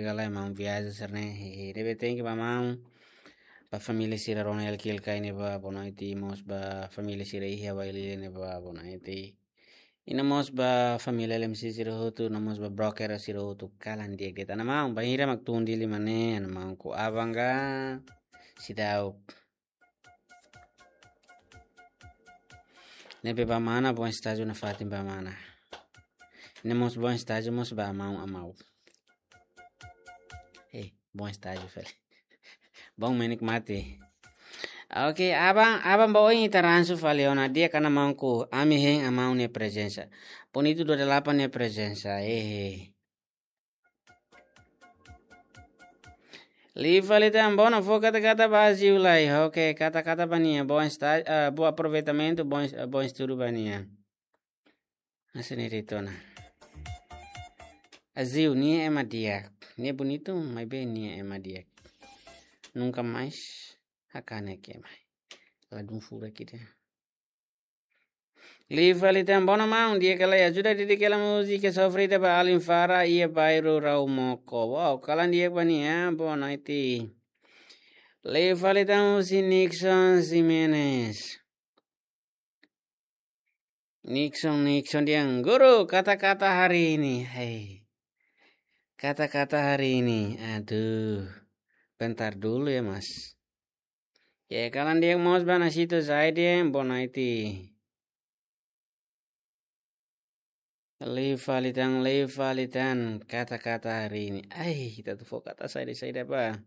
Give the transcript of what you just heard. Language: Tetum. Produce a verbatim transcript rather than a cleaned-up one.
Gala ema viaja sira-ne'e, hehe. Ne'ebé thank you ba maun. Ba família sira Ronel Kilka ne'ebá, boa noite, mós ba família sira iha Bailile ne'ebá, boa noite. I no mós ba família L M C sira hotu, no mós ba broker sira hotu, kalan di'ak de'it. Ana maun, bainhira mak tun Dili mane, ana maun, ko abanga, sidau. Ne'ebé ba mana, bom estágio nafatin ba mana. Ne'e mós bom estágio, mós ba maun amau. Eh, bom estágio, fali. Bom menik mate. Oke, aban, aban ba oin ita ransu fali ona di'ak, ana maun, ko ami hein amaun nia prezensa. Bonitu dua delapan nia prezensa, eh. Liu fali tan, bona fó kata-kata ba Aziu lai. Oke, kata-kata ba nia. Bom esta-, ah, bom aproveitamentu, bom, bom estudu ba nia. Hanesan ne'e de'it ona. Aziu, nia ema di'ak. Nia bonitu, maibé nia ema di'ak. Nunka mais hakanek ema. Ladún furak ida. Liu fali tan, bona maun, di'ak ka lae, ajuda didik hela múzika sofrida ba alin Fara iha bairru Raumoko. Wow, kalan di'ak ba nia, boa noite. Liu fali tan husi Nixon Ximenes. Nixon, Nixon dehan, guru, kata-kata hari ini. Hei. Kata-kata hari ini. Aduh. Bentar dulu ya, Mas. Ya, kalan di'ak mós ba Nasito Zaiden, boa noite. Liu fali tan, liu fali tan, kata-kata hari ini. Ai, ita atu fó kata saida-saida ba.